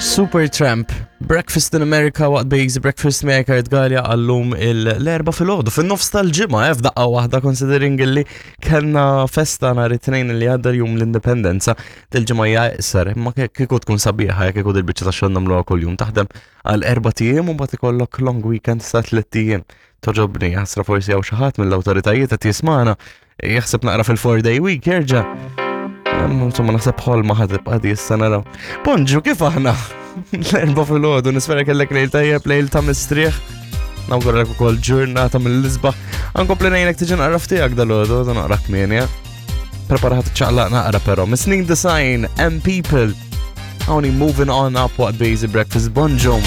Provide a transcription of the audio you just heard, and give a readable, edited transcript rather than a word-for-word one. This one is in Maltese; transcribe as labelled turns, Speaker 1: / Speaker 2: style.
Speaker 1: Supertramp, Breakfast in America waqt Basic Breakfast miegħek Kurt Galea għallum l-erba filgħodu fin-nofs tal-ġimgħa eh, f'daqqa waħda considering illi kellna festa nhar it-tnejn li għadda jum l-Indipendenza dil-ġimgħa hija iqsar imma kieku tkun sabiħa jekk kieku dil-biċċa ta' xogħol nagħmluha kuljum taħdem għal erba' ijiem u mbagħad ikollok long weekend sa tliet ijiem. Toġobni, ħasra forsi hawn xi ħadd mill-awtoritajiet qed jismana Jaħseb naqra fil-four day week jerġa'. Insomma naħseb ħolma ħad tibqa' di issa naraw. Bonġu kif aħna? L-erba' filgħodu nispera kellek lejl tajjeb lejl ta' mistrieħ. Nawguralek ukoll ġurnata mill-isbaħ. Ankompli ngħinek tiġi naqra ftiegħek dal-għodu, da naqra kmieni. Eh? Preparat ċaqlaq naqra però. Misnin Design, M People. Hawnhi moving on up waqt Bazy Breakfast Bonġu.